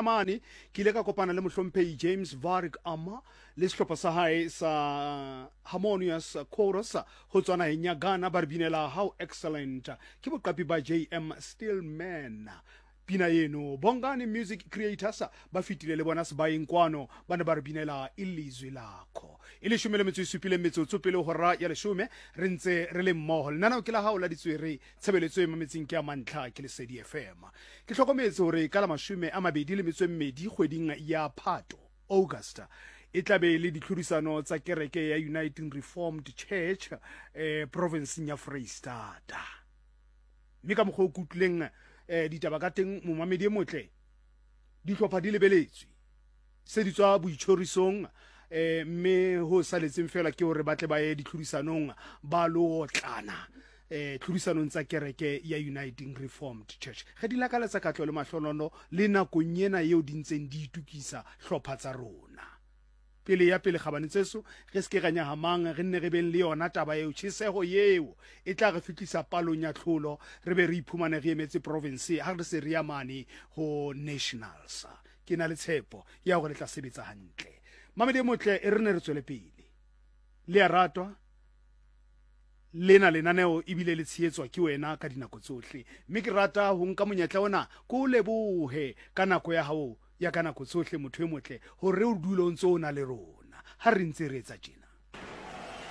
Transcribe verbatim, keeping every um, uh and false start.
Mane ke ile ka kopana le Mohlomphehi James Varik Ama le sehlopha sa hae sa Harmonious Chorus ho tswa naheng ya Ghana, ba re binela How Excellent, ke boqapi ba J M Stillman pina eno. Bongani Music Creators ba fetile le bona sebaeng kwano, ba ne ba re binela Ilizwi Lakho. E leshome le metso e supileng metsotso pele hora ya leshome, re ntse re le mmoho. Lenaneo ke la hao la Ditswere, tshebeletso e mametseng ke ya mantlha, ke Lesedi F M. Ke hlokometse hore ka la mashome a mabedi le metso e mmedi kgweding ya Phato, August, e tlabe le ditlhodisano tsa kereke ya United Reformed Church eh, provinceng ya Freistata, mme ka mokgwa o ke utlwileng eh, ditaba ka teng, momamedi e motle, dihlopha di lebeletswe se di tswa boitjhorisong, eh, mme ho saletseng fela ke hore ba tle ba ye ditlhodisanong ba lo otlana eh tlhodisanong tsa kereke ya United Reformed Church. Ge di lakaletsa katlo le mahlonono le nakong ena eo di ntseng di itukisa hlopha tsa rona pele ya pele gabane tseso, re se ke ra nyahamang, re nne re beng le yona taba eo, tjheseho eo e tla re fitlisa palong ya tlholo, re be re iphumane re emetse province ha re se re ya mane ho nationals. Ke na le tshepo ya hore le tla sebetsa hantle. Mamedi e motle, e re ne re tswele pele le ya ratwa lena lenaneo, ebile le tshehetswa ke wena ka dinako tsohle, mme ke rata ho nka monyetla ona ko o lebohe ka nako ya hao ya ka nako tsohle, motho e motle, hore o dule o ntse o na le rona ha re ntse re etsa tjena.